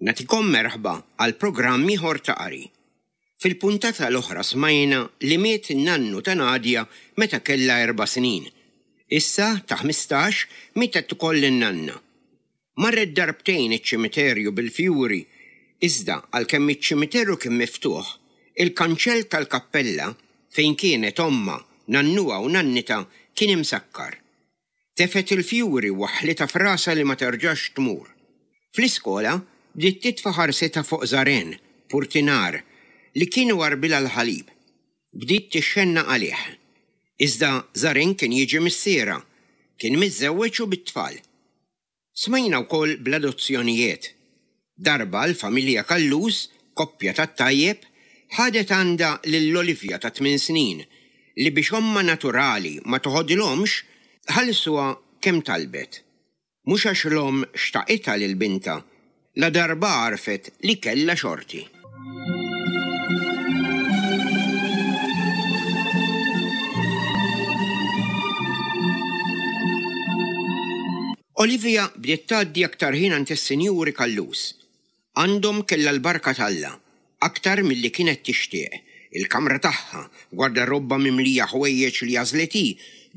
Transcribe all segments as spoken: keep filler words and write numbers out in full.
Nagħtikom merħba għal programm ieħor ta' qari. Fil-puntata l-oħra smajna li miet in-nannu ta' Nadia meta kellha erba' snin. Issa ta' ħmistax mietet ukoll in-nanna. Marret darbtejn iċ-ċimiterju bil-fjuri, iżda għalkemm iċ-ċimiterju kien miftuħ, il-kanċell tal-kappella fejn kienet ommha, nannuha u nannitha kien imsakkar. Tefgħet il-fjuri u waħħlitha f'rasha li ma terġax tmur. Fl-iskola bdiet titfa' ħarsitha fuq Żaren, purtinar, li kien iwarrbilha l-ħalib. Bdiet tixxennaq għalih. Iżda Żaren kien jiġi missierha, kien miżżewweġ u bit-tfal. Smajna wkoll bl-adozzjonijiet. Darba l-familja Callus, koppja tat-tajjeb, ħadet għandha lil Olivia ta' tmien snin, li biex ommha naturali ma toħodilhomx, ħallsuha kemm talbet. Mhux għax l-omm xtaqitha lil bintha, ladarba għarfet li kellha xorti. Olivia bdiet tgħaddi aktar ħin għand is-Sinjuri Callus. Għandhom kellha l-barka t'Alla, aktar milli kienet tixtieq. Il-kamra tagħha, gwardarobba mimlija ħwejjeġ li għażlet hi,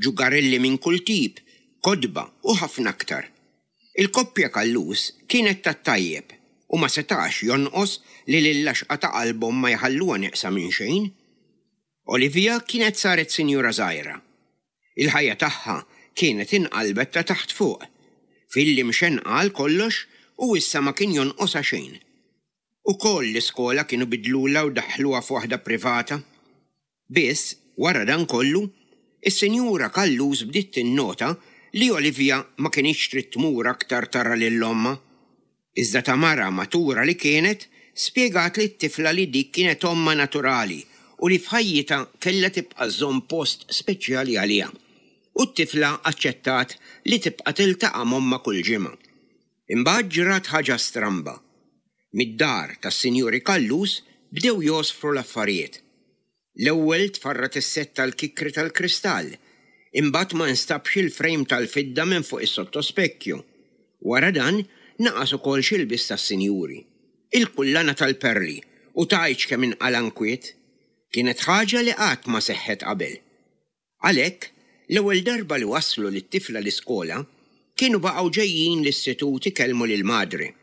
ġugarelli minn kull tip, kotba u ħafna aktar. Il-koppja Callus kienet tat-tajjeb u ma setax jonqos li lill-għaxqa ta' qalbhom ma jħalluha neqsa minn xejn. Olivia kienet saret sinjura żgħira. Il-ħajja tagħha kienet inqalbet ta' taħt fuq. Filli mxenqa għal kollox u issa ma kien jonqosha xejn. Ukoll l-iskola kienu bidlulha u daħħluha f'waħda privata. Biss, wara dan kollu, is-Sinjura Callus bdiet tinnota li Olivia ma kinitx trid tmur aktar tara lil ommha. Iżda ta' mara matura li kienet, spjegat lit-tifla li dik kienet ommha naturali u li f'ħajjitha kellha tibqa' żżomm post speċjali għaliha. U t-tifla aċċettat li tibqa' tiltaqa' m'ommha kull ġimgħa. Imbagħad ġrat ħaġa stramba. Mid-dar tas-Sinjuri Callus bdew jgħosfru l-affarijiet. L-ewwel tfarrat is-sett tal-kikri tal-kristall, imbagħad ma nstabx il-frame tal-fidda minn fuq is-sottospekkju. Wara dan naqas ukoll xi lbies tas-sinjuri. Il-kullana tal-perli u tgħidx kemm inqala' nkwiet. Kienet ħaġa li qatt ma seħħet qabel. Għalhekk, l-ewwel darba li waslu lit-tifla l-iskola, kienu baqgħu ġejjin l-istitut ikellmu lil madre.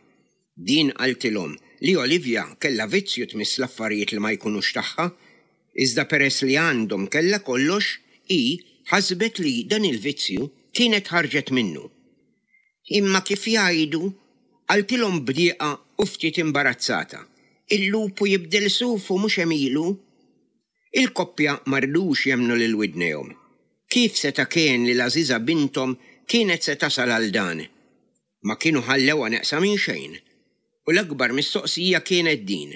Din qaltilhom li Olivia kellha vizzju tmiss l-affarijiet li ma jkunux tagħha, iżda peress li għandhom kellha kollox, hi ħasbet li dan il-vizzju kienet ħarġet minnu. Imma kif jgħidu, qaltilhom b'dieqa u ftit imbarazzata, il-lupu jibdel sufu mhux għemilu. Il-koppja ma ridux jemmnu lil widnejhom. Kif seta' kien li l-għażiża binthom kienet se tasal għal dan? Ma kienu ħallewha neqsa minn xejn. U l-akbar mistoqsija kienet din,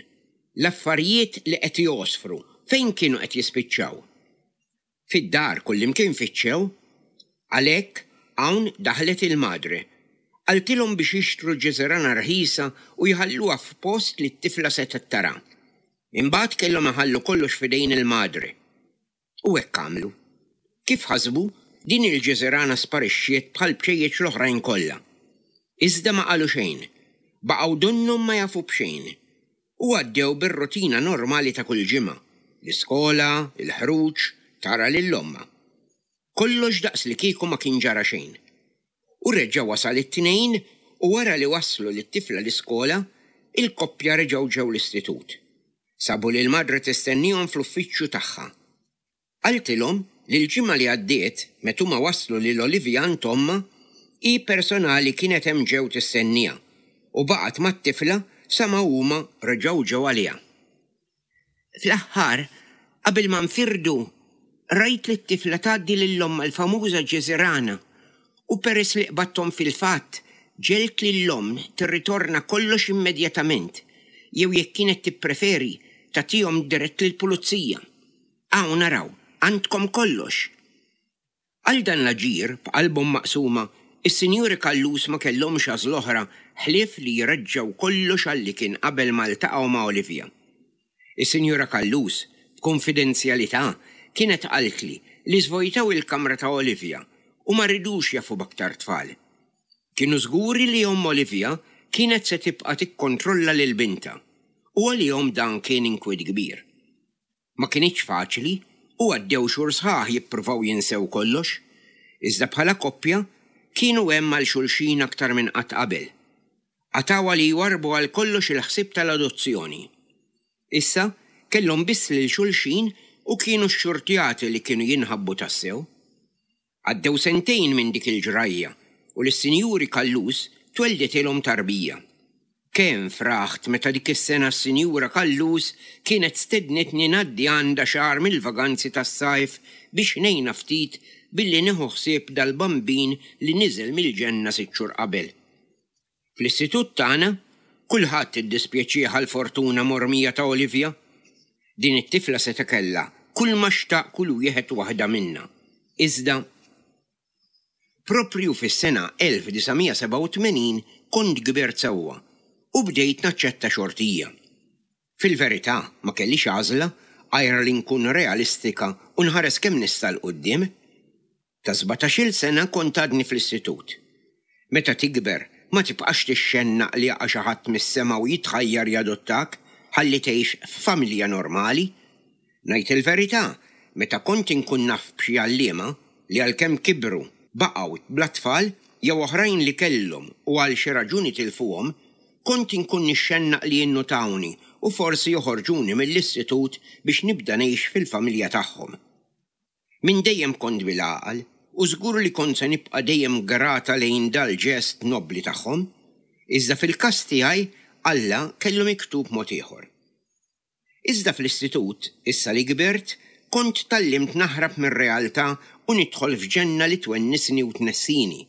l-affarijiet li qed jgħosfru fejn kienu qed jispiċċaw? Fid-dar kullimkien fittxew. Għalhekk hawn daħlet il-madre. Qaltilhom biex jixtru ġiżirana rħisa u jħalluha f'post li t-tifla setgħet tara. Imbagħad kellhom iħallu kollox f'idejn il-madre. U hekk għamlu. Kif ħasbu, din il-ġiżirana sparixxiet bħal bċejjeċ l-oħrajn kollha. Iżda ma qalu xejn. Baqgħu donnhom ma jafu b'xejn. U għaddew bir-rutina normali ta' kull ġimgħa, l-iskola, il-ħruġ, tara lil ommha. Kollox daqs li kieku ma kien ġara xejn. U reġa' wasal it-Tnejn u wara li waslu lit-tifla l-iskola, il-koppja reġgħu ġew l-istitut. Sabu lil madre tistennihom fl-uffiċċju tagħha. Qaltilhom li l-ġimgħa li għaddiet, meta huma waslu lil Olivia għand ommha, hi personali kienet hemm ġew tistenniha u baqgħet mat-tifla sa ma huma reġgħu ġew għaliha. Fl-aħħar, qabel ma nfirdu, rajt li t-tifla tgħaddi lil ommha l-famuża ġiżirana u peress li qbadthom fil-fatt, ġelt lil omm tirritorna kollox immedjatament, jew jekk kienet tippreferi tagħtihom dirett lill-pulizija. Hawn naraw, għandkom kollox. Għal dan l-aġir, b'qalbhom maqsuma, is-Sinjuri Callus ma kellhomx għażla oħra ħlief li jreġġgħu kollox għal li kien qabel ma ltaqgħu ma' Olivia. Is-Sinjura Callus, b'konfidenzjalità, kienet qaltli li żvojtaw il-kamra ta' Olivia u ma ridux jafu b'aktar tfal. Kienu żguri li omm Olivia kienet se tibqa' tikkontrolla lil bintha u għalihom dan kien inkwiet kbir. Ma kinitx faċli u għaddew xhur sħaħ jippruvaw jinsew kollox, iżda bħala koppja kienu hemm għal xulxin aktar minn qatt qabel. Qatgħuha li jwarrbu għal kollox il-ħsieb tal-adozzjoni. Issa kellhom biss lil xulxin u kienu xxurtjati li kienu jinħabbu tassew. Għaddew sentejn minn dik il-ġrajja u lis-Sinjuri Callus twelditilhom tarbija. Kemm fraħt meta dik is-sena s-Sinjura Callus kienet stednitni ngħaddi għandha xahar mill-vaganzi tas-sajf biex ngħinha ftit billi nieħu ħsieb dal-bambin li niżel mill-ġenna sitt xhur qabel. Fl-istitut tagħna kulħadd iddispjaċih għall-fortuna mormija ta' Olivia. Din it-tifla seta' kellha kull ma xtaq kull wieħed waħda minna. Iżda proprju fis-sena elf disa' mija sebgħa u tmenin kont kbirt sewwa u bdejt naċċetta xortija. Fil-verità ma kellix għażla għajr li nkun realistika u nħares kemm nista' 'l quddiem. Ta' sbatax-il sena kont għadni fl-istitut. Meta tikber ma tibqax tixxennaq li jaqa' xi ħadd mis-sema u jitħajjar jadottak ħalli tgħix f'familja normali. Ngħid il-verità, meta kont inkun naf b'xi għalliema li għalkemm kibru baqgħu bla tfal jew oħrajn li kellhom u għal xi raġuni tilfuhom, kont inkun nixxennaq li jinnotawni u forsi joħorġuni mill-istitut biex nibda ngħix fil-familja tagħhom. Minn dejjem kont bil-għaqal u żgur li kont se nibqa' dejjem grata lejn dal-ġest nobli tagħhom, iżda fil-każ tiegħi Alla kellu miktub mod ieħor. Iżda fl-istitut, issa li kbirt, kont tgħallimt naħrab mir-realtà u nidħol f'ġenna li twennisni u tnessini.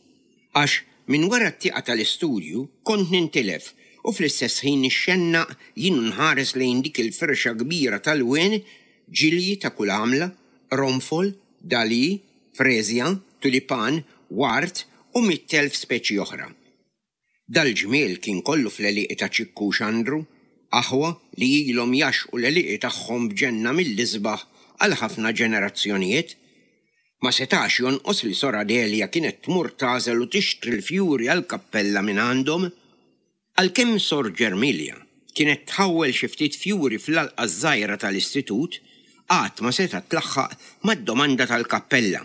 Għax minn wara t-tieqa tal-istudju kont nintilef u fl-istess ħin nixxennaq jien nħares lejn dik il-firxa kbira tal-wien, ġilji ta' kull għamla, qronfol, dali, frezja, tulipan, ward u mitt elf speċi oħra. Dal-ġmiel kien kollu fl-għelieqi ta' Ċikku u Xandru, aħwa li ilhom jaxqu l-għelieqi tagħhom b'ġenna mill-isbaħ għal ħafna ġenerazzjonijiet. Ma setax jonqos li Sor Adelia kienet tmur tagħżel u tixtri l-fjuri għall-kappella minn għandhom. Għalkemm Sor Ġermilja kienet tħawwel xi ftit fjuri fl-għalqa żgħira tal-istitut, qatt ma setgħet tlaħħaq mad-domanda tal-kappella.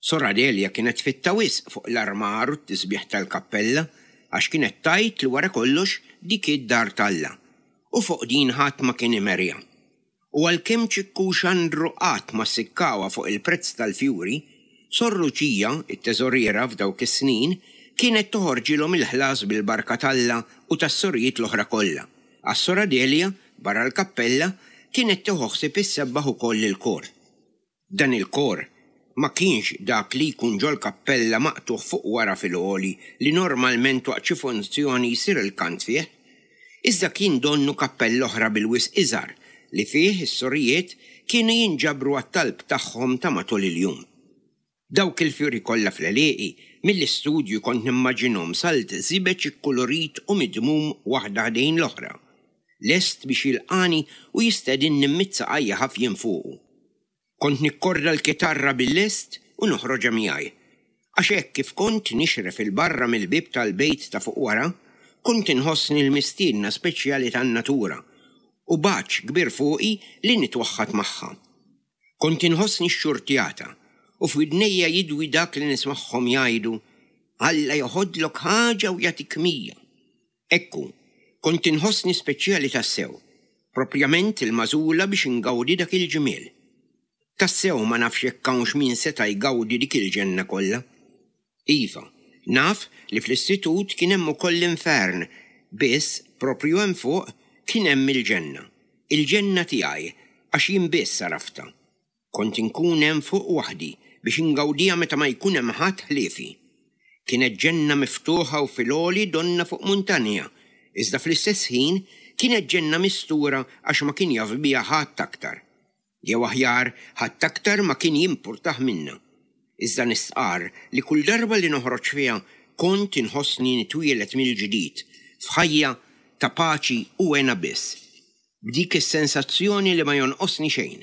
Sor Adelia kienet fitta wisq fuq l-armar u t-tisbieħ tal-kappella għax kienet tgħid li wara kollox dik id-dar t'Alla u fuq din ħadd ma kien imerja. U għalkemm Ċikku u Xandru qatt ma sikkawha fuq il-prezz tal-fjuri, Sor Luċija, it-teżoriera f'dawk is-snin, kienet toħorġilhom il-ħlas bil-barka t'Alla u tas-sorijiet l-oħra kollha. Għas Sor Adelia, barra l-kappella, kienet tieħu ħsieb issebbaħ ukoll il-kor. Dan il-kor ma kienx dak li jkun ġol kappella maqtuħ fuq wara fil-għoli li normalment waqt xi funzjoni jsir il-kant fih, iżda kien donnu kappella oħra bil-wisq iżgħar li fih is-sorijiet kienu jinġabru għat-talb tagħhom ta' matul il-jum. Dawk il-fjuri kollha fl-għelieqi mill-istudju kont nimmaġinhom salt żibeġ ikkulurit u midmum waħda ħdejn l-oħra, lest biex jilqani u jistedinni mmid saqajja ħafjin fuqu. Kont nikkorda l-kitarra bil-lest u noħroġha miegħi. Għax hekk kif kont nixref il-barra mill-bieb tal-bejt ta' fuq wara, kont inħossni l-mistiedna speċjali tan-natura u baċ kbir fuqi li nitwaħħad magħha. Kont inħossni xxurtjata u f'widnejja jidwi dak li nismagħhom jgħidu Alla joħodlok ħaġa u jagħtik mija. Ekku, kont inħossni speċjali tassew, propjament il-magħżula biex ingawdi dak il-ġmiel. Tassew ma nafx jekk hawnx min seta' jgawdi dik il-ġenna kollha. Iva, naf li fl-istitut kien hemm ukoll l-infern, biss proprju hemm fuq kien hemm il-ġenna. Il-ġenna tiegħi għax jien biss għaraftha. Kont inkun hemm fuq waħdi biex ingawdiha meta ma jkun hemm ħadd ħliefi. Kienet ġenna miftuħa u fil-għoli donna fuq muntanja, iżda fl-istess ħin kienet ġenna mistura għax ma kien jaf biha ħadd aktar. Jew aħjar ħadd aktar ma kien jimpurtah minna. Iżda nistqar li kull darba li noħroġ fiha kont inħossni nitwielet mill-ġdid f'ħajja ta' paċi u hena biss. B'dik is-sensazzjoni li ma jonqosni xejn.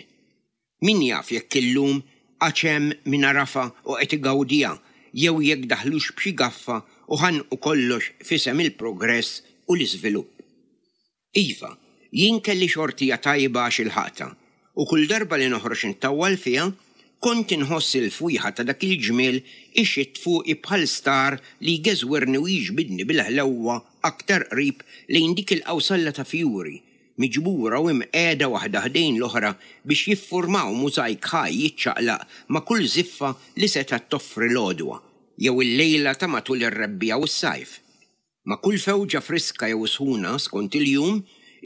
Min jaf jekk illum għax hemm min għarafha u qed igawdiha jew jekk daħlux b'xi gaffa u ħanqu kollox f'isem il-progress u l-iżvilupp. Iva, jien kelli xortija tajba għax ilħaqtha, u kull darba li noħroġ nittawwal fiha, kont inħoss il-fwieħa ta' dak il-ġmiel ixxitt fuqi bħal star li jgeżwirni u jiġbidni bil-ħlewwa aktar qrib lejn dik il-qawsalla ta' fjuri, miġbura u imqiegħda waħda ħdejn l-oħra biex jiffurmaw mużajk ħaj jiċċaqlaq ma' kull żiffa li setgħet toffri l-għodwa jew il-lejla ta' matul ir-rebbiegħa u s-sajf. Ma' kull fewġa friska jew sħuna skont il-jum,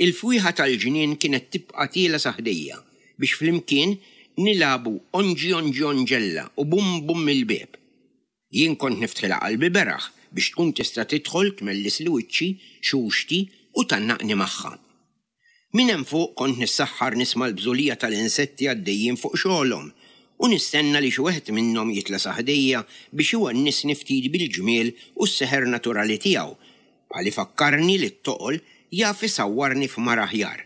il-fwieħa tal-ġnien kienet tibqa' tiela' sa ħdejja biex flimkien nilagħbu onġi onġi onġella u bum bum il-bieb. Jien kont niftħilha qalbi beraħ biex tkun tista' tidħol tmellisli wiċċi, xuxti u tgħannaqni magħha. Minn hemm fuq kont nissaħħar nisma' l-bżulija tal-insetti għaddejjin fuq xogħolhom u nistenna li xi wieħed minnhom jitla' sa ħdejja biex iwennisni ftit bil-ġmiel u s-seħer naturali tiegħu, bħal ifakkarni li t-toqol jaf isawwarni f'mara aħjar.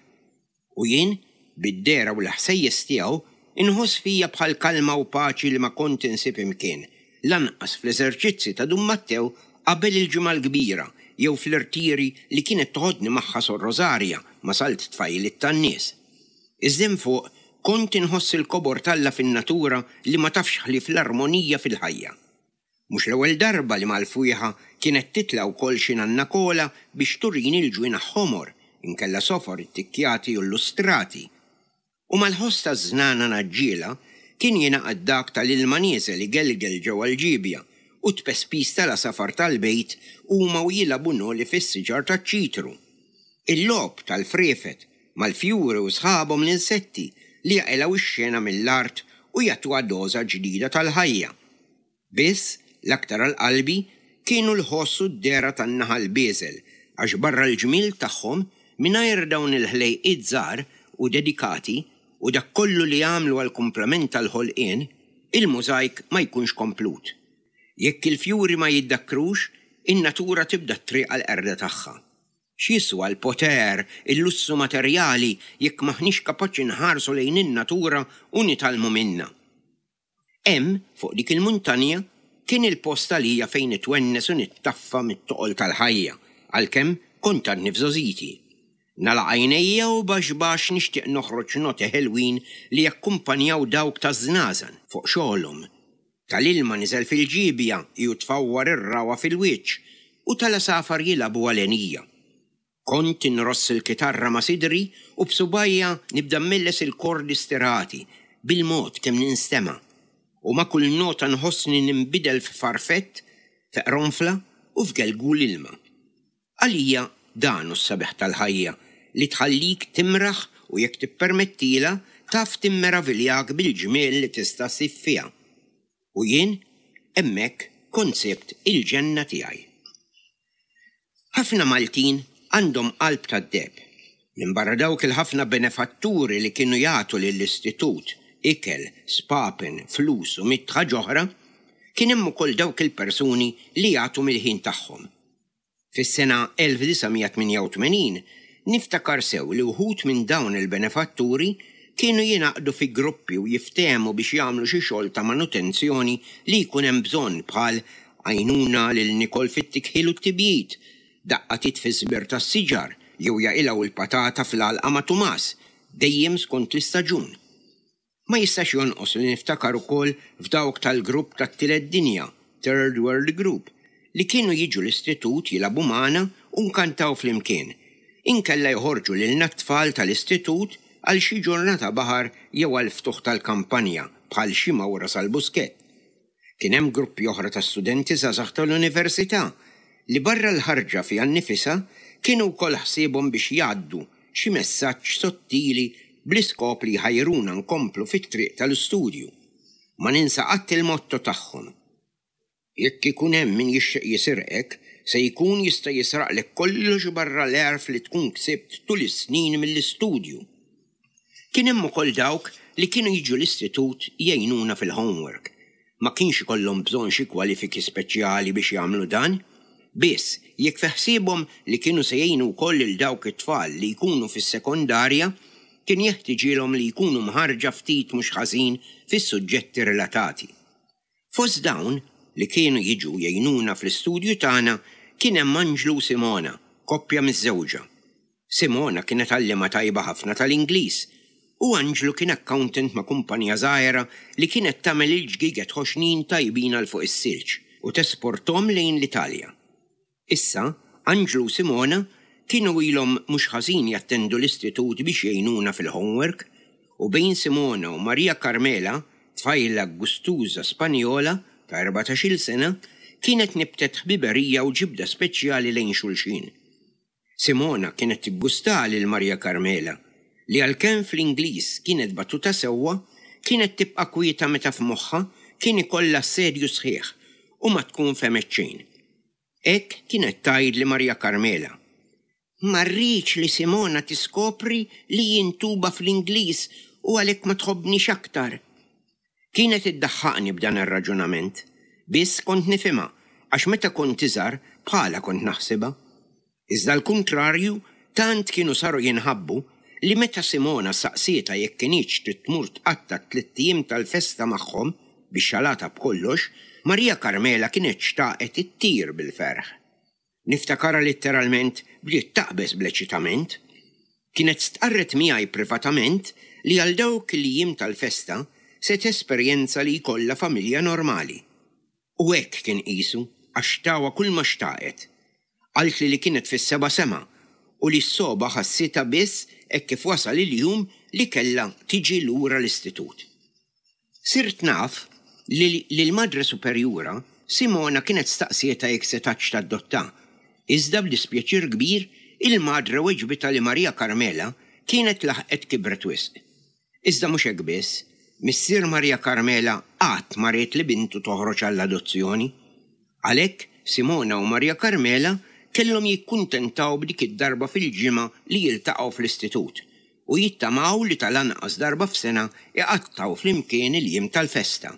U jien, bid-dehra u l-ħsejjes tiegħu, inħoss fija bħal kalma u paċi li ma kont insib imkien, lanqas fl-eżerċizzi ta' Dun Mattew qabel il-Ġimgħa l-Kbira jew fl-irtiri li kienet toħodni magħha Sor Rosaria ma' salt tfajliet tan-nies. Iżda hemm fuq kont inħoss il-kobor t'Alla fin-natura li ma tafx ħlief l-armonija fil-ħajja. Mhux l-ewwel darba li mal-fwieħa kienet titla' wkoll xi nanna Kola biex turini l-ġwienaħ ħomor, inkella sofor ittikkjati u llustrati. U mal-ħoss taż-żnana naġġiela kien jingħaqad dak tal-ilma nieżel igelgel ġewwa l-ġiebja u t-tpespis tal-għasafar tal-bejt huma u jilagħbu noli fis-siġar taċ-ċitru. Il-logħob tal-friefet mal-fjuri u sħabhom l-insetti li jaqilgħu x-xena mill-art u jagħtuha doża ġdida tal-ħajja. Biss, l-aktar għal qalbi kienu l-ħoss u d-dehra tan-naħal bieżel għax barra l-ġmiel tagħhom, mingħajr dawn il-ħlejqiet żgħar u dedikati u dak kollu li jagħmlu għall-kumplament tal-ħolqien, il-mużajk ma jkunx komplut. Jekk il-fjuri ma jiddakkrux, in-natura tibda t-triq għall-qerda tagħha. X'jiswa l-poter, il-lussu materjali jekk m'aħniex kapaċi nħarsu lejn in-natura u nitgħallmu minnha? Hemm, fuq dik il-muntanja, kien il-post għalija fejn nitwennes u nittaffa mit-toqol tal-ħajja, għalkemm kont għadni f'żgħożiti. Nagħlaq għajnejja u baxx baxx nixtieq noħroġ noti ħelwin li jakkumpanjaw dawk taż-żnażan fuq xogħolhom. Tal-ilma niżel fil-ġiebja ju tfawwar ir-ragħwa fil-wiċċ u tal-għasafar jilagħbu għalenija. Kont inross il-kitarra ma' sidri u b'subgħajja nibda mmelles il-kordi stirati bil-mod kemm ninstema' u ma' kull nota nħossni ninbidel f'farfett, f'qronfla u f'gelgul ilma. Għalija dan hu s-sabiħ tal-ħajja li tħallik timraħ u jekk tippermettilha taf timmeraviljak bil-ġmiel li tista' ssib fiha. U jien hemmhekk kont sibt il-ġenna tiegħi. Ħafna Maltin għandhom qalb tad-deheb. Minbarra dawk il-ħafna benefatturi li kienu jagħtu lill-istitut ikel, spapen, flus u mitt ħaġa oħra, kien hemm ukoll dawk il-persuni li jagħtu mill-ħin tagħhom. Fis-sena elf disa' mija tmienja u tmenin niftakar sew li wħud minn dawn il-benefatturi kienu jingħaqdu fi gruppi u jiftehmu biex jagħmlu xi xogħol ta' manutenzjoni li jkun hemm bżonn bħal għajnuna lil Nikol fit-tikħil u t-tibjid, daqqa tit fiż-żbir tas-siġar jew jaqilgħu l-patata fl-għalqa ma' Tumas, dejjem skont l-istaġun. Ma jistax jonqos li niftakar ukoll f'dawk tal-grupp tat-Tielet Dinja, Third World Group, li kienu jiġu l-istitut jilagħbu magħna u nkantaw flimkien, inkella joħorġu lilna t-tfal tal-istitut għal xi ġurnata baħar jew għal ftuħ tal-kampanja bħal xi mawra sal-Buskett. Kien hemm gruppi oħra ta' studenti żgħażagħ tal-università li barra l-ħarġa fiha nnifisha kienu wkoll ħsiebhom biex jgħaddu xi messaġġ sottili bl-iskop li jħajruna nkomplu fit-triq tal-istudju. Ma ninsa qatt il-motto tagħhom. Jekk ikun hemm min jixtieq jisirqek, se jkun jista' jisraqlek kollox barra l-għerf li tkun ksibt tul is-snin mill-istudju. Kien hemm ukoll dawk li kienu jiġu l-istitut jgħinuna fil-homework. Ma kienx ikollhom bżonn xi kwalifiki speċjali biex jagħmlu dan. Biss, jekk fi ħsiebhom li kienu se jgħinu wkoll lil dawk it-tfal li jkunu fis-sekondarja, kien jeħtiġilhom li jkunu mħarġa ftit mhux ħażin fis-suġġetti relatati. Fost dawn, li kienu jiġu jgħinuna fl-istudju tagħna kien hemm Anġlu u Simona, koppja miżżewġa. Simona kienet għalliema tajba ħafna tal-Ingliż u Anġlu kien accountant ma' kumpanija żgħira li kienet tagħmel il-ġgieget ħoxnin tajbin għal fuq is-silġ u tesporthom lejn l-Italja. Issa, Anġlu u Simona kienu ilhom mhux ħażin jattendu l-istitut biex jgħinuna fil-homework u bejn Simona u Maria Carmela, tfajla gustuża Spanjola ta' erbatax-il sena, kienet nibtet ħbiberija u ġibda speċjali lejn xulxin. Simona kienet tiggusta lil Maria Carmela, li għalkemm fl-Ingliż kienet battuta sewwa, kienet tibqa' kwieta meta f'moħħha kien ikollha assedju sħiħ u ma tkun fehmet xejn. Hekk kienet tgħid li Maria Carmela. Ma rridx li Simona tiskopri li jien tuba fl-Ingliż u għalhekk ma tħobbnix aktar. Kienet iddaħħaqni b'dan ir-raġunament, biss kont nifhimha għax meta kont iżgħar bħala kont naħsibha. Iżda l-kuntrarju, tant kienu saru jinħabbu li meta Simona saqsietha jekk kinitx trid tmur tqatta' tliet ijiem tal-festa magħhom biex xalata b'kollox, Maria Carmela kienet xtaqet ittir bil-ferħ. Niftakarha litteralment bdiet taqbeż bl-eċitament. Kienet stqarret miegħi privatament li għal dawk il-jiem tal-festa se tesperjenza li jkollha familja normali. U hekk kien qisu għax tawha kull ma xtaqet. Qaltli li kienet fis-seba' sema u li s-soba ħassitha biss hekk kif wasal il-jum li kellha tiġi lura l-istitut. Sirt naf li l-Madre Superjura Simona kienet staqsietha jekk setgħetx tadotta. Iżda b'dispjaċir kbir il-Madre weġbitha li Maria Carmela kienet laħqet kibret wisq. Iżda mhux hekk biss, missier Maria Carmela qatt ma ried li bintu toħroġ għall-adozzjoni. Għalhekk Simona u Maria Carmela kellhom jikkuntentaw b'dik id-darba fil-ġimgħa li jiltaqgħu fl-istitut u jittamaw li tal-anqas darba f'sena iqattgħu flimkien il-jiem tal-festa.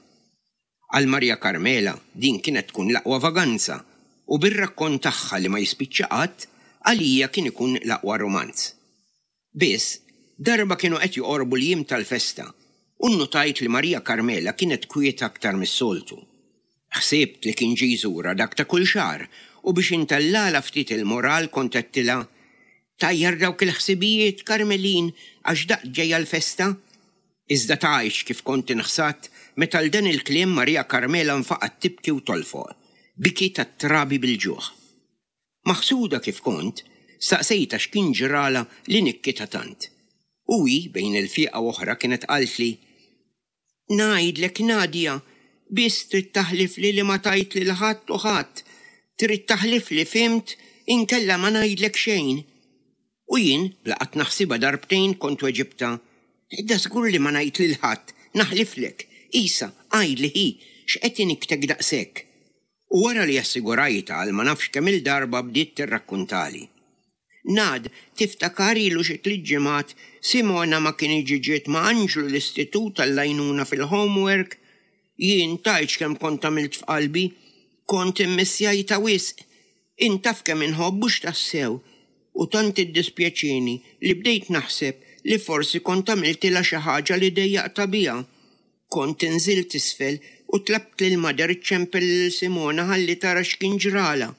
Għal Maria Carmela din kienet tkun l-aqwa vaganza u bir-rakkont tagħha li ma jispiċċa qatt, għalija kien ikun l-aqwa romanz. Biss, darba kienu qed joqorbu l-jiem tal-festa u nnotajt li Maria Carmela kienet kwieta aktar mis-soltu. Ħsibt li kien ġie jżurha dak ta' kull xahar u biex intellala ftit il-moral kont għedtilha, Tajjar dawk il-ħsibijiet, Carmelin, għax daqt ġejja l-festa? Iżda tgħidx kif kont inħsadt meta l dan il-kliem Maria Carmela nfaqgħet tibki u tolfoq, biki tat-trabi bil-ġuħ. Maħsuda kif kont, staqsejtha x'kien ġrala li nikkita tant. U hi bejn il-fieqa u oħra kienet qaltli, Ngħidlek Nadia, biss trid taħlifli li ma tgħid lil ħadd u ħadd, trid taħlifli fhimt inkella ma ngħidlek xejn. U jien, bla qatt naħsibha darbtejn kont weġibta, Da żgur li ma ngħid lil ħadd, naħliflek, isa, għidli hi, x'qed iniktek daqshekk. U wara li assigurajtha għal ma nafx kemm il-darba bdiet tirrakkuntali. Nad, tiftakar ilu xi tliet ġimgħat Simona ma kinitx ġiet ma' Anġlu l-istitut għall-għajnuna fil-homework? Jien tgħidx kemm kont għamilt f'qalbi, kont immissjajta wisq. Int taf kemm inħobbu x'tassew. U tant iddispjaċini li bdejt naħseb li forsi kont għamiltilha xi ħaġa li dejjaqtha biha. Kont inżilt isfel u tlabt lil Mother iċċempel lil Simona ħalli tara x'kien ġrala.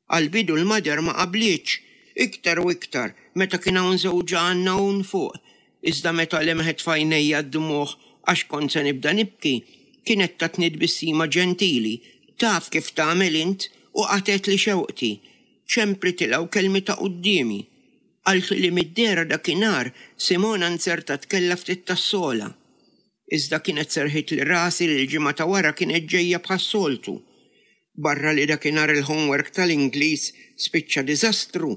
Għall-bidu l-Mother ma qablitx, iktar u iktar meta kien hawn żewġha għandna hawn fuq. Iżda meta lemħet f'għajnejja d-dmugħ għax kont se nibda nibki, kienet tatni tbissima ġentili, taf kif tagħmel int u qatgħetli xewqti. Ċemplitilha u kelmitha quddiemi. Qaltli li mid-dehra dakinhar Simona nzertat kellha ftit tas-sola. Iżda kienet serħitli rasi li l-ġimgħa ta' wara kienet ġejja bħas-soltu. Barra li dakinhar il-homework tal-Ingliż spiċċa diżastru,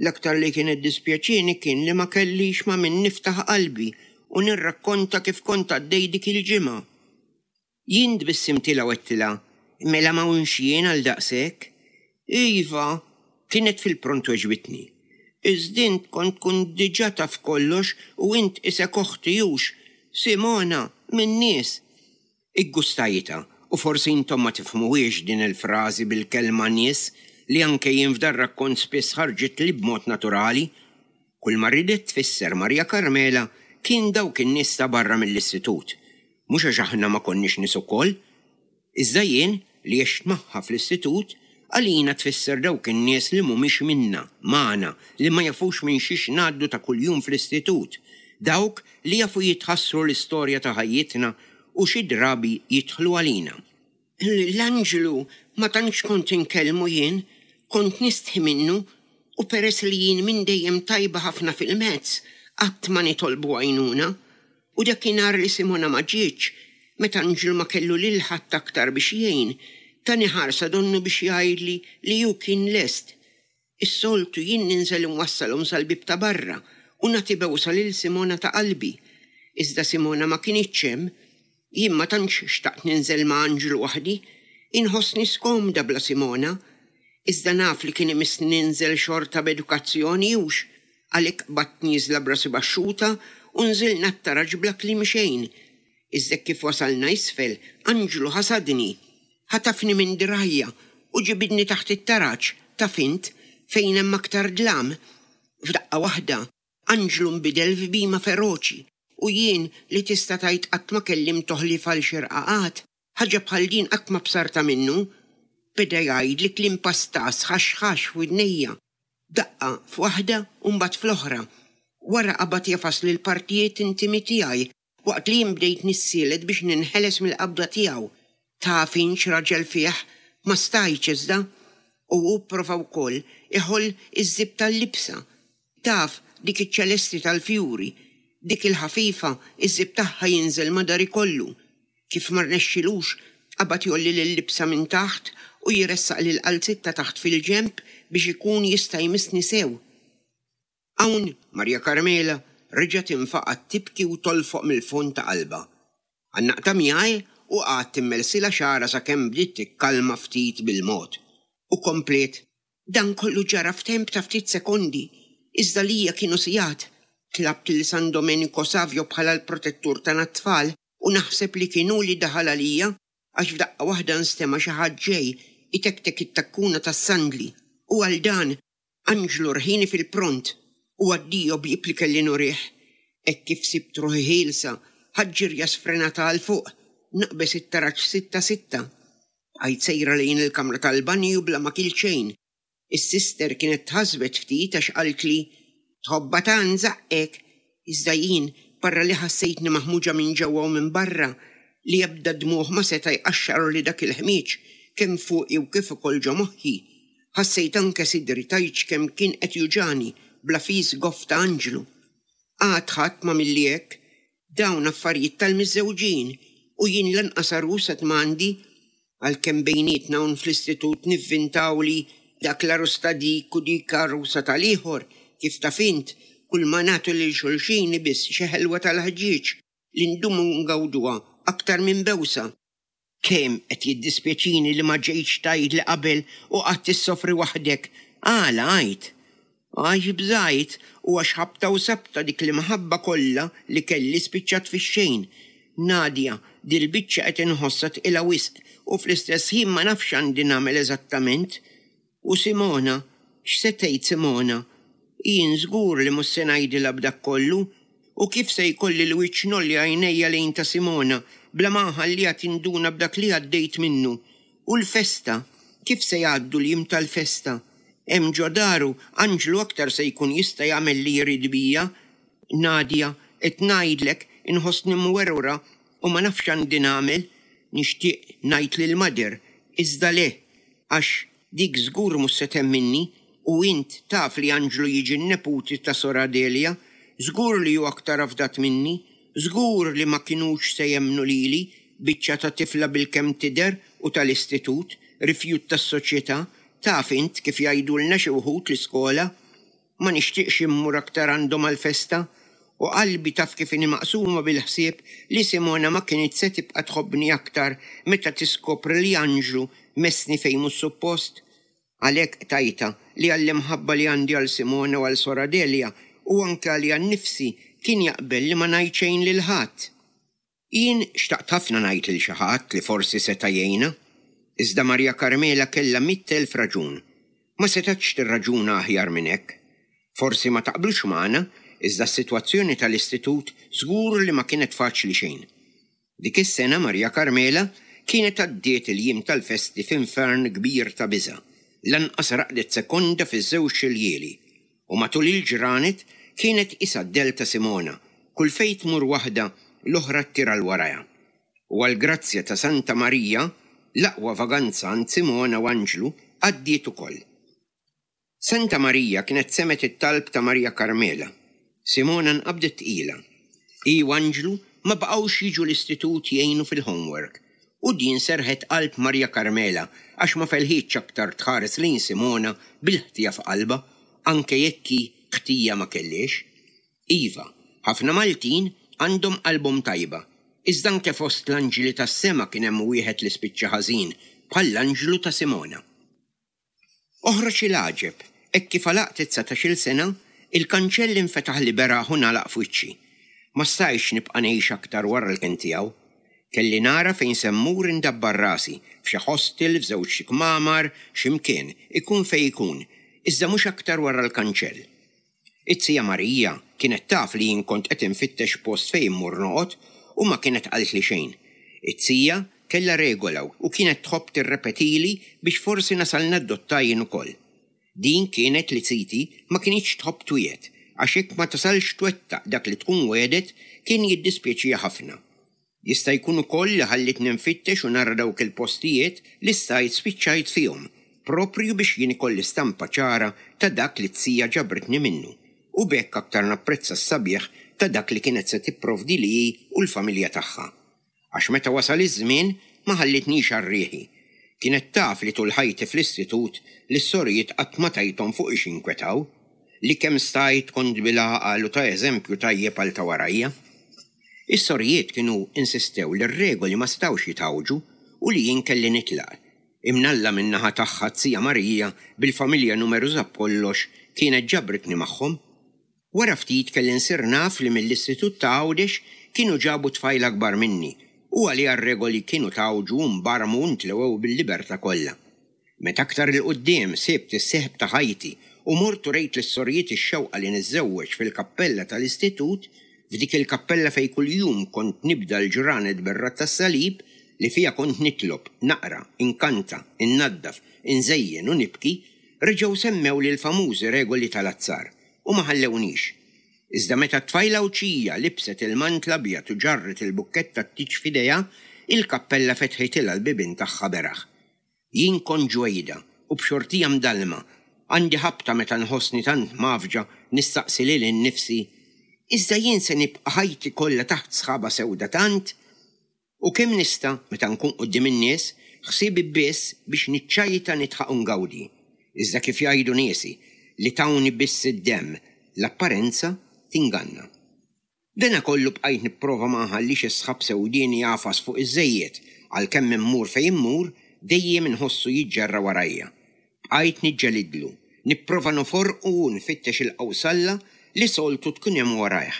l-aktar li kienet dispjaċini kien li ma kellix ma' min niftaħ qalbi u nirrakkonta kif kont għaddej dik il-ġimgħa. Jien tbissimtilha u għedtilha, Mela ma hawnx jien għal daqshekk? Iva, kienet fil-pront weġbitni. Iżda int kont tkun diġà taf kollox u int isek oħti hux, Simona, min-nies. Iggustajtha u forsi intom ma tifhmuhiex din il-frażi bil-kelma nies li anke jien f'dar rakkont spiss ħarġitli b'mod naturali. Kull ma ridet tfisser Maria Carmela kien dawk in-nies ta' barra mill-istitut. Mhux għax aħna ma konniex nies ukoll. Iżda jien, li għext magħha fl-istitut, għalina tfisser dawk in-nies li mhumiex minna, magħna, li ma jafux minn xiex ngħaddu ta' kuljum fl-istitut, dawk li jafu jitħassru l-istorja ta' ħajjitna u xi drabi jidħlu għalina. L-Anġlu ma tantx kont inkellmu jien, kont nistħi minnu u peress li jien minn dejjem tajba ħafna fil-mezz, qatt ma nitolbu għajnuna. U dakinhar li Simona ma ġietx, meta Anġlu ma kellu lil ħadd aktar biex jgħin, tani ħarsa donnu biex jgħidli li hu kien lest. Is-soltu jien ninżel inwassalhom sal-bieb ta' barra u nagħti bewsa lil Simona ta' qalbi. Iżda Simona ma kinitx hemm. Jien ma tantx xtaqt ninżel ma' Anġlu waħdi, inħossni skomda bla Simona. Iżda naf li kien imissni ninżel xorta b'edukazzjoni hux, għalhekk qbadt nieżla b'rasi baxxuta u nżilna t-taraġ bla kliem xejn. Iżda kif wasalna isfel, Anġlu ħasadni. Ħatafni minn dirgħajja u ġibidni taħt it-taraġ, taf int, fejn hemm aktar dlam. F'daqqa waħda, Anġlu nbidel f'bhima feroċi u jien li tista' tgħid qatt ma kellimtu ħlief għal xi rqaqat, ħaġa bħal din qatt ma bsartha minnu. Beda jgħidli kliem pastas ħax ħax f'widnejja. Daqqa f'waħda u mbagħad fl-oħra. Wara qabad jafasli l-partijiet intimi tiegħi waqt li jien bdejt nissielet biex ninħeles mill-qabda tiegħu. Taf int x'raġel fih, ma stajtx iżda. U hu pprova wkoll iħoll iż-żipp tal-libsa. Taf dik iċ-ċelesti tal-fjuri, dik il-ħafifa iż-żipp tagħha jinżel ma' dari kollu. Kif ma rnexxilux, qabad jgħolli lil-libsa minn taħt u jressaq lill-qalziet ta' taħt fil-ġenb biex ikun jista' jmissni sew. Hawn Maria Carmela reġgħet infaqgħet tibki u tolfoq mill-fond ta' qalbha. Għannaqtha miegħi u qgħadt immelsilha xagħarha sakemm bdiet tikkalma ftit bil-mod. U kompliet, Dan kollu ġara f'temp ta' ftit sekondi, iżda lija kienu sigħat. Tlabt lil San Domenico Savio bħala l-protettur tagħna t-tfal u naħseb li kien hu li daħal għalija għax f'daqqa waħda nstema' xi ħadd ġej itektek it-takkuna tas-sandli u għal dan Anġlu rħieni fil-pront u addio bieb li kelli nurih. Hekk kif sibt ruħi ħielsa, ħadt ġirja sfrenata għal fuq, naqbeż it-taraġ sitta sitta. Bqajt sejra lejn il-kamra tal-banju bla ma kilt xejn. Is-sister kienet tħassbet ftit għax qaltli, Tħobbha tant żaqqek! Iżda jien, barra li ħassejtni maħmuġa minn ġewwa u minn barra, li ebda dmugħ ma seta' jqaxxarli dak il-ħmieġ, kemm fuqi u kif ukoll ġo moħħi, ħassejt anke sidri tgħidx kemm kien qed juġagħni bla fis goff ta' anġlu. Għad ħadd m'għamilli hekk. Dawn affarijiet tal-miżżewġin u jien lanqas għarus għad m'għandi. Għalkemm bejnietna hawn fl-istitut nivvintaw li dak l-għarus ta' dik u dik għarusa tal-ieħor, kif taf int, kulma nagħtu lil xulxin hi biss xi ħelwa tal-ħġieġ li ndumu ngawduha aktar minn bewsa. Kemm qed jiddispjaċini li ma ġejtx tgħidli qabel u qgħadt issofri waħdek. Għala għidt? Għax bżajt u għax ħabta u sabta dik l-imħabba kollha li kelli spiċċat fix-xejn. Nadia, dil-biċċa qed inħossha tqila wisq u fl-istess ħin ma nafx x'għandi nagħmel eżattament. U Simona? X'se tgħid Simona? Jien żgur li mhux se ngħidilha b'dak kollu. U kif se jkolli l-wiċċ ngħolli għajnejja lejn ta' Simona bla ma nħalliha tinduna b'dak li għaddejt minnu? U l-festa? Kif se jgħaddu l-jiem tal-festa? Hemm ġo daru, Anġlu aktar se jkun jista' jagħmel li jrid bija. Nadia, qed ngħidlek, inħossni mwerwra u ma nafx x'għandi nagħmel. Nixtieq ngħid lil Mother, iżda le, għax dik żgur mhux se temminni, u int taf li Anġlu jiġi n-neputi ta' Sor Adelia, żgur li hu aktar afdat minni, żgur li ma kinux se jemmnu lili, biċċa ta' tifla bilkemm tidher u tal-istitut, rifjut tas-soċjetà, taf int kif jgħidulna xi wħud l-iskola. Ma nixtieqx immur aktar għandhom għall-festa. U qalbi taf kif inhi maqsuma bil-ħsieb li Simona ma kinitx se tibqa' tħobbni aktar meta tiskopri li Anġlu messni fejn mhux suppost. Għalhekk qtajtha li għall-imħabba li għandi għal Simona u għal Sor Adelia u anke għalija nnifsi kien jaqbel li ma ngħid xejn lil ħadd. Jien xtaqt ħafna ngħid lil xi ħadd li forsi seta' jgħinha. Iżda Maria Carmela kellha mitt elf raġun. Ma setgħetx tirraġuna aħjar minn hekk. Forsi ma taqblux magħna, iżda s-sitwazzjoni tal-istitut żgur li ma kienet faċli xejn. Dik is-sena Maria Carmela kienet għaddiet il-jiem tal-festi f'infern kbir ta' biża'. Lanqas raqdet sekonda fiż-żewġ iljieli. U matul il-ġranet kienet qisha d-dell ta' Simona, kull fejn tmur waħda, l-oħra ttir għal warajha. U għall-grazzja ta' Santa Marija, l-aqwa vaganza għand Simona u Anġlu għaddiet ukoll. Santa Marija kienet semgħet it-talb ta' Marija Karmela. Simona nqabdet tqila. Hi u Anġlu ma baqgħux jiġu l-istitut jgħinu fil-homework. U din serħet qalb Marija Karmela għax ma felħitx aktar tħares lejn Simona bil-ħtija f'qalbha, anke jekk hi ħtija ma kellhiex. Iva, ħafna Maltin għandhom qalbhom tajba, iżda anke fost l-anġli tas-sema kien hemm wieħed li spiċċa ħażin, bħall-anġlu ta' Simona. Oħroġ il-għaġeb, hekk kif għalaqt it-dsatax-il sena, il-kanċell infetaħ li beraħ u ngħalaq f'wiċċi. Ma stajtx nibqa' ngħix aktar wara l-kenn tiegħu. Kelli nara fejn se mmur indabbar rasi, f'xi hostel, f'żewġ kmamar, xi mkien, ikun fejn ikun, iżda mhux aktar wara l-kanċell. It-zija Marija kienet taf li jien kont qed infittex post fejn immur noqgħod u ma kienet qaltli xejn. It-zija kellha regola u kienet tħobb tirrepetili biex forsi nasal nadotta jien ukoll. Din kienet li ziti ma kinitx tħobb twiegħed, għax jekk ma tasalx twettaq dak li tkun wegħdet kien jiddispjaċiha ħafna. Jista' jkun ukoll li ħallitni nfittex u nara dawk il-postijiet li stajt spiċċajt fihom, proprju biex jien ikolli stampa ċara ta' dak li t-zija ġabritni minnu, u b'hekk aktar napprezza s-sabiħ ta' dak li kienet se tipprovdili hi u l-familja tagħha. Għax meta wasal iż-żmien ma ħallitnix għal riħi. Kienet taf li tul ħajti fl-istitut lis-sorijiet qatt ma tajthom fuq ix jinkwetaw, li kemm stajt kont bil-għaqal u ta' eżempju tajjeb għal ta' warajja. Is-sorijiet kienu insistew li r-regoli ma setgħux jitgħawġu u li jien kelli nitlaq. Imnalla min-naħa tagħha t-zija Marija bil-familja numeruża b'kollox kienet ġabritni magħhom. Wara ftit kelli nsir naf li mill-istitut ta' Għawdex kienu ġabu tfajla akbar minni u għaliha r-regoli kienu tgħawġu u nbarmu u ntlewew bil-libertà kollha. Meta aktar 'il quddiem sibt is-sieħeb ta' ħajti u mort u rejt lis-sorijiet ix-xewqa li niżżewweġ fil-kappella tal-istitut, f'dik il-kappella fejn kuljum kont nibda l-ġranet bir-radd tas-salib, li fiha kont nitlob, naqra, inkanta, innaddaf, inżejjen u nibki, reġgħu semmewli l-famużi regoli tal-azzar u ma ħallewniex. Iżda meta t-tfajla Għawdxija libset il-mant l-abjad u ġarret il-bukkett tat-tieġ f'idejha, il-kappella fetħitilha l-bibien tagħha beraħ. Jien kont ġwejda u b'xortija mdallma, għandi ħabta meta nħossni tant mgħaffġa nistaqsi lili nnifsi, iżda jien se nibqa' ħajti kollha taħt sħaba sewda tant? U kemm nista', meta nkun quddiem in-nies, ħsiebi biss biex niċċajta nidħaq u ngawdi. Iżda kif jgħidu niesi, li tawni biss id-demm, l-apparenza tinganna. Dana kollu bqajt nipprova ma nħallix is-sħab sewdieni jagħfas fuq iż-żejjed, għalkemm immur fejn immur, dejjem inħossu jiġġerra warajja. Bqajt niġġelidlu, nipprova noforqu u nfittex il-qawsalla li soltu tkun hemm warajh.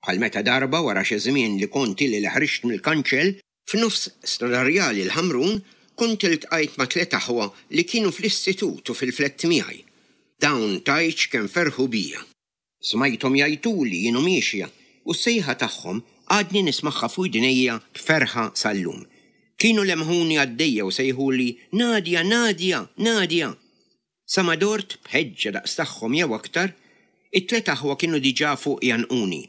Bħal meta darba wara xi żmien li kont ili li ħriġt mill-kanċell, f'nofs Strada Rjali l-Ħamrun, kont iltqajt ma' tliet aħwa li kienu fl-istitut u fil-flett miegħi. Dawn tgħidx kemm ferħu bija. Smajthom jgħajtuli jien u miexja u s-sejħa tagħhom għadni nismagħha f'widnejja b'ferħa sal-lum. Kienu lemħuni għaddejja u sejħuli Nadia, Nadia, Nadia! Sa ma dort b'ħeġġa daqs tagħhom jew aktar, it-tliet aħwa kienu diġà fuq jgħannquni.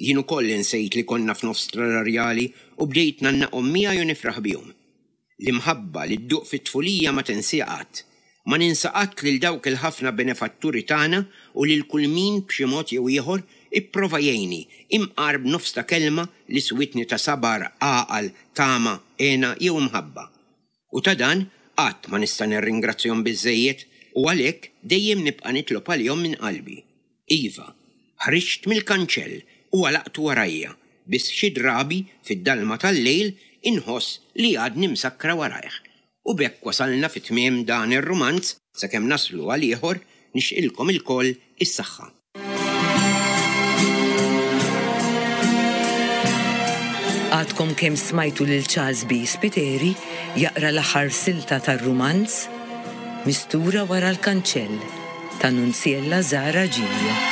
Jien ukoll insejt li konna f'nofs Strada Rjali u bdejt ngħannaqhom miegħi u nifraħ bihom. L-imħabba li dduq fit-tfulija ma tinsiha qatt. Ma ninsa qatt lil dawk il-ħafna benefatturi tagħna u lil kull min b'xi mod jew ieħor ipprova jgħinni, imqar b'nofs ta' kelma li switni ta' sabar, għaqal, tama, hena jew imħabba. U ta' dan qatt ma nista' nirringrazzjahom biżżejjed u għalhekk dejjem nibqa' nitlob għalihom minn qalbi. Iva, ħriġt mill-kanċell u għalaqtu warajja, biss xi drabi fid-dalma tal-lejl inħoss li għadni msakkra warajh. U b'hekk wasalna fi tmiem dan ir-rumanz, sakemm naslu għal ieħor, nixtqilkom ilkoll is-saħħa. Għadkom kemm smajtu lil Charles B. Spiteri jaqra l-aħħar silta tar-rumanz Mistura wara l-kanċell ta' Nunziella Zahra Giglio.